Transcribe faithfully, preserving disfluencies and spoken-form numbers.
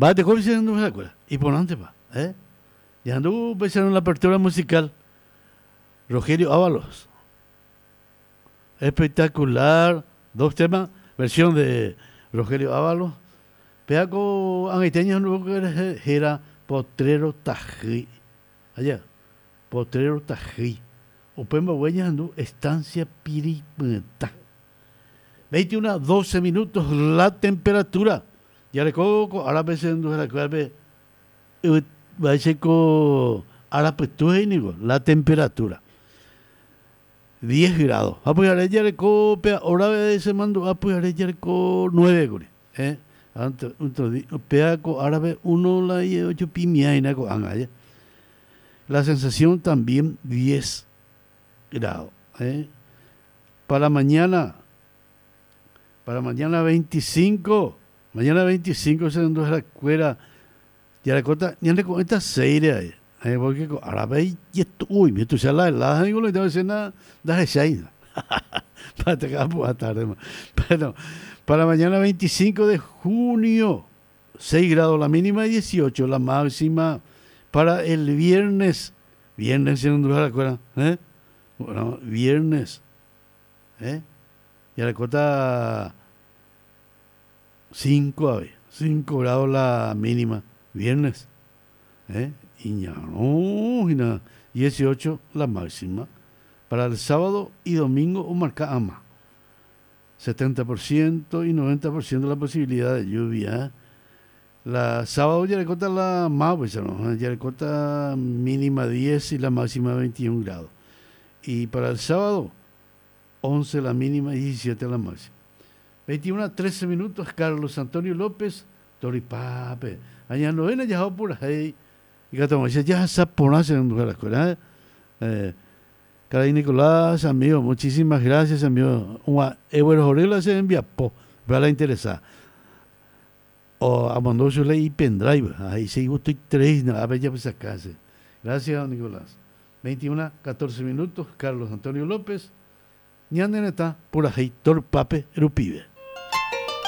Va, te y por antes va, ¿eh? Ya anduvo en la apertura musical Rogelio Ábalos. Espectacular, dos temas, versión de Rogelio Ábalos. Peaco angaiteño no era Potrero Tají. Allá, Potrero Tají. Upemba huella andu Estancia Piripyta. veintiuno doce minutos la temperatura. Ya le coco, ahora pensando la clave la temperatura. diez grados. Apoyaré ya le copia, ahora se mando apoyaré ya le nueve, eh. Antes peaco árabe uno la y ocho pimia y naco anga. La sensación también diez grados, eh. Para mañana, para mañana veinticinco, mañana veinticinco se ando la cuera. Ya le corta, ya le cuenta seis ahí. Eh, porque árabe y esto, uy, me tú la helada, digo, le tengo que decir nada, da seis. Para te quedar tarde. Pero para mañana veinticinco de junio, seis grados la mínima y dieciocho la máxima. Para el viernes, viernes se ando la cuera, ¿eh? Bueno, viernes, ¿eh? Ya le corta cinco, a ver, cinco grados la mínima, viernes, ¿eh? Y no, y nada, dieciocho la máxima. Para el sábado y domingo, o marca ama, setenta por ciento y noventa por ciento la posibilidad de lluvia. La sábado ya le corta la más, pues, ¿no? Ya le corta mínima diez y la máxima veintiún grados. Y para el sábado, once la mínima y diecisiete la máxima. veintiuno a trece minutos, Carlos Antonio López, Toripape. Aña novena ya por ahí. Y que ya se pone en la escuela. Eh, Caray Nicolás, amigo, muchísimas gracias, amigo. Ewer Jorela se envía po, para la interesada. O amandó su ley y pendrive. Ahí se estoy tres, a ver ya pues acá. Gracias, Nicolás. veintiuno a catorce minutos, Carlos Antonio López. Ñandeneta, por ahí, Torpape, Rupibe.